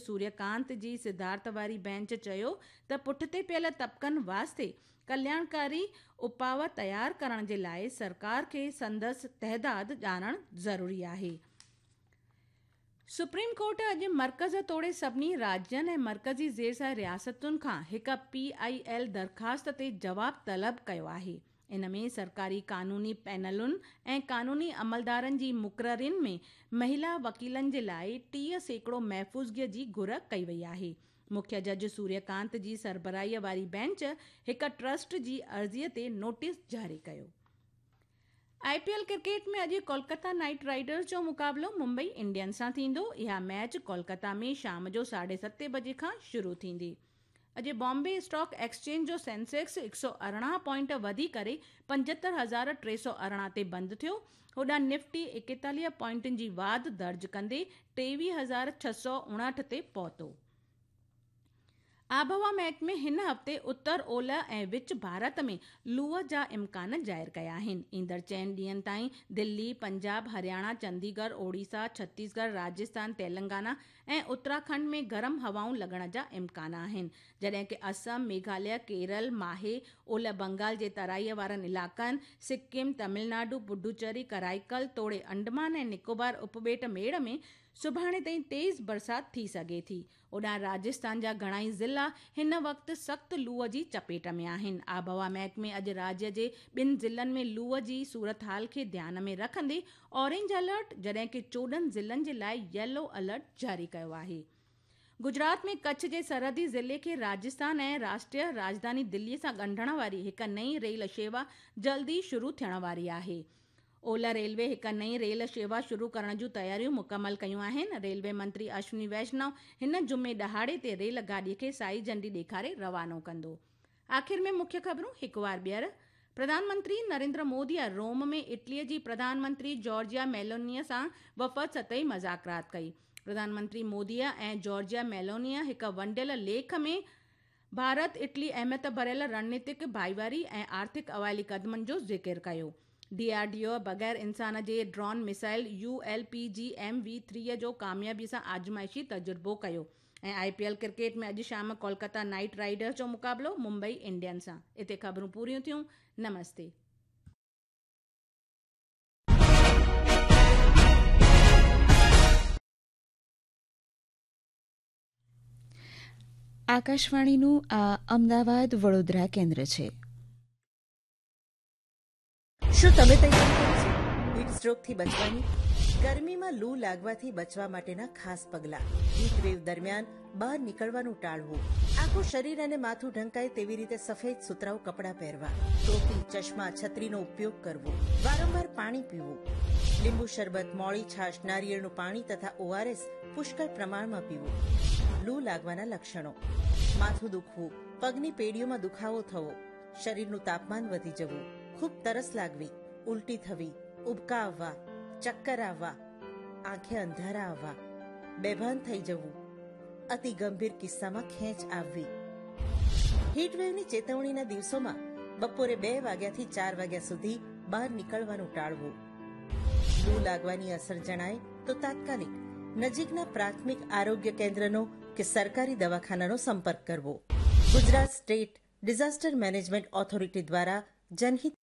سوريڪانت جي صدارت واري بينچ چيو ته پٺتي پيل طبقن واسطي ڪلياڻڪاري اپاءَ تيار ڪرڻ جي لاءِ سرڪار کي سندس تعداد ڄاڻڻ ضروري آهي. سپريم ڪورٽ اڄ مرڪز توڙي سڀني راجين ۽ مرڪزي زير سايه رياستن کان هڪ پي I L درخواست تي جواب طلب ڪيو آهي. ان ۾ سرڪاري قانوني پينلن ۽ قانوني عملدارن جي مقررين ۾ مهلا وڪيلن جي لاءِ 30% محفوظگي جي گهر ڪئي وئي آهي. مکيه جج سوريڪانت جي سربراهي واري بينچ هڪ ٽرسٽ جي عرضي تي نوٽيس جاري ڪيو. آءِ پي ايل ڪرڪيٽ ۾ اڄ ڪولڪتا نائيٽ رائيڊرز جو مقابلو ممبئي انڊينز سان ٿيندو. اها ميچ ڪولڪتا ۾ شام جو 7:30 بجي کان شروع ٿيندي. اڄ بامبي اسٽاڪ ايڪسچينج جو سينسيڪس 118 پوائنٽ وڌي ڪري 75,318 تي بند ٿيو. هوڏانهن نفٽي 41 پوائنٽن جي واڌ درج ڪندي 23,659 تي پهتو. آبهوا محڪمي هن هفتي اتر اولهه ۽ وچ ڀارت ۾ لوءَ جا امڪان ظاهر ڪيا آهن. ايندڙ 4 ڏينهن تائين دلي، پنجاب، هرياڻا، چنديڳڙهه، اوڙيسا، ڇتيسڳڙهه، راجسٿان، تيلنگانا ۽ اتراکنڊ ۾ گرم هوائون لڳڻ جا امڪان آهن، جڏهن ڪه اسم، ميگهاليه، ڪيرل، ماهي، اولهه بنگال جي ترائي وارن علائقن، سڪم، تامل ناڊو، پڊوچيري، ڪرائيڪل توڙي انڊمان ۽ نڪوبار اپٻيٽ ميڙ ۾ سڀاڻي تائين تيز برسات ٿي سگهي ٿي. هوڏانهن راجسٿان جا گهڻائي ضلعا هن وقت سخت لوءَ جي چپيٽ ۾ آهن. آبهوا محڪمي اڄ راجيه جي 2 ضلعن ۾ لوءَ جي صورتحال کي ڌيان ۾ رکندي اورينج الرٽ، جڏهن ڪه 14 ضلعن جي لاءِ ييلو الرٽ جاري ڪيو آهي. گجرات ۾ ڪڇ جي سرحدي ضلعي کي راجسٿان ۽ راشٽريه راڄڌاني دلي سان ڳنڍڻ واري هڪ نئين ريل شيوا جلد ئي شروع ٿيڻ واري آهي. اولهه ريلوي هڪ نئين ريل شيوا شروع ڪرڻ جون تياريون مڪمل ڪيون آهن. ريلوي منتري اشوني ويشنو هن جمعي ڏهاڙي تي ريل گاڏي کي سائي جهنڊي ڏيکاري روانو ڪندو. آخر ۾ مکيه خبرون هڪ وار ٻيهر. پرڌان منتري نريندر موديءَ روم ۾ اٽليءَ جي پرڌان منتري جارجيا ميلونيءَ سان وفد سطحي مذاڪرات ڪئي. پرڌان منتري موديءَ ۽ جارجيا ميلونيءَ هڪ ونڊيل ليک ۾ ڀارت اٽلي اهميت ڀريل رڻنيتڪ ڀائيواري ۽ آرٿڪ اوائلي قدمن جو ذڪر ڪيو. ڊي آر ڊي او بغير انسان جي drone missile U L P G M V 3 جو ڪاميابي سان آزمائشي تجربو ڪيو. ۽ آءِ پي ايل ڪرڪيٽ ۾ اڄ شام ڪولڪتا نائيٽ رائيڊرز جو مقابلو ممبئي انڊينز سان. اتي خبرون پوريون ٿيون. نمستي. આકાશવાણીનું આ અમદાવાદ વડોદરા કેન્દ્ર છે. શું તમે તૈયારી કરી છે હીટ સ્ટ્રોકથી બચવાની? ગરમીમાં લૂ લાગવાથી બચવા માટેના ખાસ પગલાં. હીટ વેવ દરમિયાન બહાર નીકળવાનું ટાળવું. આખું શરીર અને માથું ઢંકાય તેવી રીતે સફેદ સુતરાઉ કપડાં પહેરવા. ટોપી, ચશ્મા, છત્રીનો ઉપયોગ કરવો. વારંવાર પાણી પીવું. લીંબુ શરબત, મોળી છાશ, નારિયેળનું પાણી તથા ઓઆરએસ પુષ્કળ પ્રમાણમાં પીવું. લૂ લાગવાના લક્ષણો: માથું દુખવું, પગની પેઢીઓમાં દુખાવો થવો, શરીરનું તાપમાન વધી જવું, ખૂબ તરસ લાગવી, ઉલટી થવી, ઉબકા આવવા, ચક્કર આવવા, આંખે અંધારા આવવા, બેભાન થઈ જવું, અતિ ગંભીર કિસ્સામાં ખેંચ આવવી. હીટવેવની ચેતવણીના દિવસોમાં બપોરે 2 વાગ્યાથી 4 વાગ્યા સુધી બહાર નીકળવાનું ટાળવું. લૂ લાગવાની અસર જણાય તો તાત્કાલિક નજીકના પ્રાથમિક આરોગ્ય કેન્દ્રનો કે સરકારી દવાખાનાનો સંપર્ક કરવો. Gujarat state disaster management authority દ્વારા જનહિત.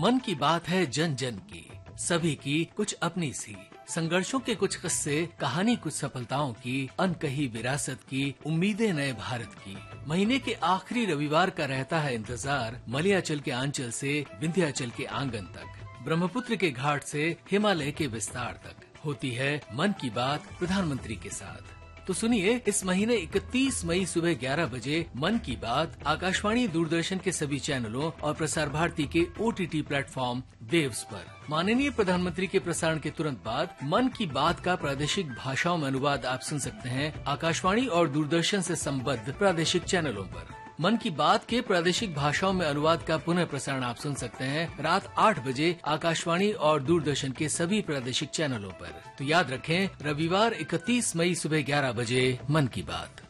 मन की बात है जन जन की, सभी की कुछ अपनी सी, संघर्षों के कुछ किस्से, कहानी कुछ सफलताओं की, अनकही विरासत की, उम्मीदें नए भारत की। महीने के आखिरी रविवार का रहता है इंतजार, मलियाचल के आंचल से विंध्याचल के आंगन तक, ब्रह्मपुत्र के घाट से हिमालय के विस्तार तक होती है मन की बात प्रधानमंत्री के साथ। तो सुनिए इस महीने 31 मई सुबह 11 बजे मन की बात आकाशवाणी, दूरदर्शन के सभी चैनलों और प्रसार भारती के ओटीटी प्लेटफॉर्म वेव्स पर। माननीय प्रधानमंत्री के प्रसारण के तुरंत बाद मन की बात का प्रादेशिक भाषाओं में अनुवाद आप सुन सकते हैं आकाशवाणी और दूरदर्शन से संबद्ध प्रादेशिक चैनलों पर। मन की बात के प्रादेशिक भाषाओं में अनुवाद का पुनः प्रसारण आप सुन सकते हैं रात 8 बजे आकाशवाणी और दूरदर्शन के सभी प्रादेशिक चैनलों पर। तो याद रखें, रविवार 31 मई सुबह 11 बजे मन की बात।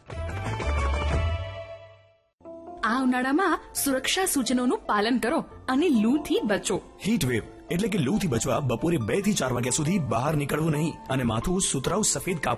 આ ઉનાળામાં સુરક્ષા સૂચનોનું પાલન કરો અને લૂથી બચો. હીટ વેવ એટલે કે લૂથી બચવા બપોરે 2 થી 4 વાગ્યા સુધી બહાર નીકળવું નહીં અને માથું સુતરાઉ સફેદ કાપડ